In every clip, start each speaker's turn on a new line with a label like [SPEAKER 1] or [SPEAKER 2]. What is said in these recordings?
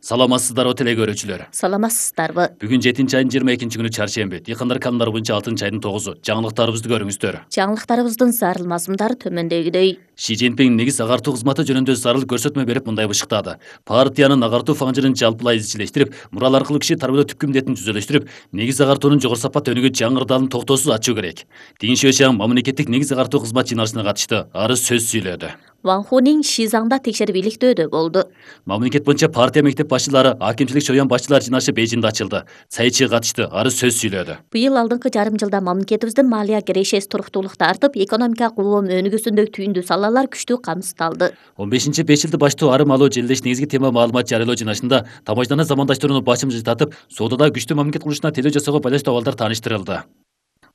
[SPEAKER 1] Саламатсыздарбы теле көрүүчүлөр.
[SPEAKER 2] Саламатсыздарбы.
[SPEAKER 1] Бүгүн 7-айдын 22-күнү чаршемби. Дыйкандар каналдары боюнча 6-айдын 9-у. Жаңылыктарыбызды көрүңүздөр.
[SPEAKER 2] Жаңылыктарыбыздын зарыл мазмундары төмөндөгүдөй.
[SPEAKER 1] Ши Цзиньпин негиз агартуу кызматы жөнүндө зарыл көрсөтмө берип мындай бышыктады. Партиянын агартуу фаңжырын жалпылай изчилештирип, мурал аркылуу киши тарбиялоо түпкү милдетин түзөлөштүрүп, негиз агартуунун жогору сапат өнүгүү жаңы ырдалын токтоосуз ачуу керек. Дин Шуэшан мамлекеттик негиз агартуу кызмат жыйналышына катышты. Ары сөз сүйлөдү.
[SPEAKER 2] Ван Хунин Шизаңда текшерип иликтөөдө болду.
[SPEAKER 1] Мамлекет боюнча партия мектеп башчылары, акимчилик чоюн башчылар жыйналышы Бейжиңде ачылды. Цайчи катышты. Ары сөз сүйлөдү.
[SPEAKER 2] Быйыл алдыңкы жарым жылда мамлекетибиздин малия кирешеси туруктуулукта артып, экономика улам өнүгүүсүндөгү түйүндүү салалар күчтүү камсыздалды.
[SPEAKER 1] 15-5 жылды баштоо арым алуу желилеш негизги тема маалымат жарыялоо жыйналышында тамашаны замандаштырууну башым жылтатып, соодада күчтүү мамлекет курулушуна телөө жасоого байланыштуу абалдар тааныштырылды.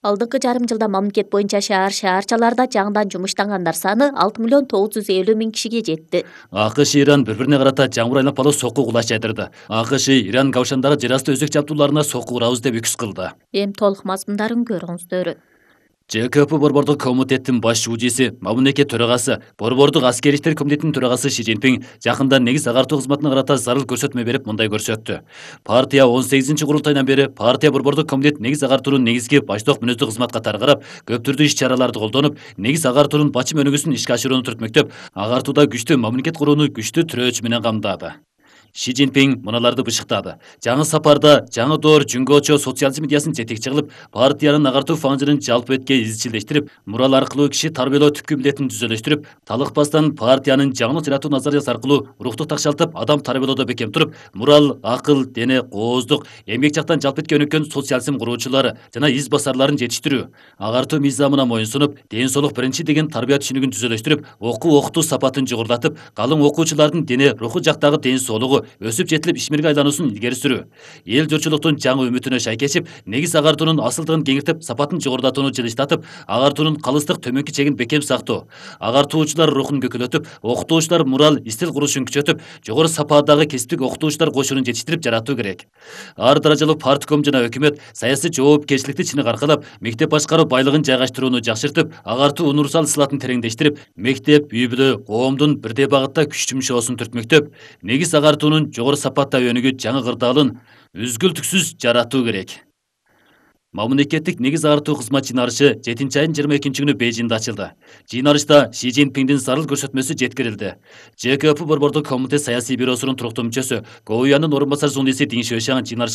[SPEAKER 2] Алдыңкы жарым жылда мамлекет боюнча шаарчаларда жаңыдан жумуштангандар саны 6.950.000 кишиге жетти.
[SPEAKER 1] АКШ Иран бири-бирине карата жаңбыр айланпалуу сокку кулаш жайдырды. АКШ Иран Кавшандагы жер асты өзөк жабдууларына сокку урабыз деп үкүс кылды.
[SPEAKER 2] Эми толук мазмундарын көрүңүздөр.
[SPEAKER 1] ЖКП Борбордук комитеттин баш шуучусу, мамлекет төрагасы, Борбордук аскер иштер комитетинин төрагасы Ши Цзиньпин жакында негиз агартуу кызматына карата зарыл көрсөтмө берип мындай көрсөттү. Партия 18-курултайдан бери партия Борбордук комитет негиз агартуунун негизги баштоок мүнөздүү кызмат катары карап, көп түрдүү иш-чараларды колдонуп, негиз агартуунун бачым өнүгүүсүн ишке ашырууну түртмөктөп, агартууда күчтүү мамлекет курууну күчтүү тирөөч менен камдады. Ши Цзиньпин мыналарды бышыктады. Жаңы сапарда жаңы доор жүнгөчө социализм идеясын жетекчи кылып, партиянын агартуу фаңжырын жалпы этке изчилештирип, мурал аркылуу киши тарбиялоо түпкү милдетин түзөлөштүрүп, талыкпастан партиянын жаңылык жаратуу назариясы аркылуу рукту такшалтып, адам тарбиялоодо бекем туруп, мурал, акыл, дене, кооздук, эмгек жактан жалпы этке өнүккөн социализм куруучулары жана из басарларын жетиштирүү, агартуу мыйзамына моюнсунуп, ден соолук биринчи деген тарбия түшүнүгүн түзөлөштүрүп, окутуу сапатын жогорулатып, калың окуучулардын дене, руху жактагы ден соолугу өсүп жетилип ишмерге айлануусун илгери сүрүү, эл журтчулуктун жаңы үмүтүнө шайкешип, негиз агартуунун асылдыгын кеңиртип, сапатын жогорулатууну жылыштатып, агартуунун калыстык төмөнкү чегин бекем сактоо, агартуучулар рухун көкөлөтүп, окутуучулар мурал истил курушун күчөтүп, жогору сападагы кесиптик окутуучулар кошунун жетиштирип жаратуу керек. Ар даражалуу партком жана өкмөт саясий жоопкерчиликти чыныгы аркалап, мектеп башкаруу байлыгын жайгаштырууну жакшыртып, агартуу универсал сылатын тереңдештирип, мектеп, үй бүлө, коомдун бирдей багытта күч жумшоосун түртмөктөп, негиз агартуунун жогору сапатта өнүгүү жаңы кырдаалын үзгүлтүксүз жаратуу керек. Мамлекеттик негиз агартуу кызмат жыйналышы 7-айдын 22-күнү Бейжиңде ачылды. Жыйналышта Ши Цзиньпиндин зарыл көрсөтмөсү жеткирилди. ЖКП Борбордук комитет саясий бюросунун туруктуу мүчөсү, Гоуянын орун басар журналисти Дин Шуэшан жыйналышка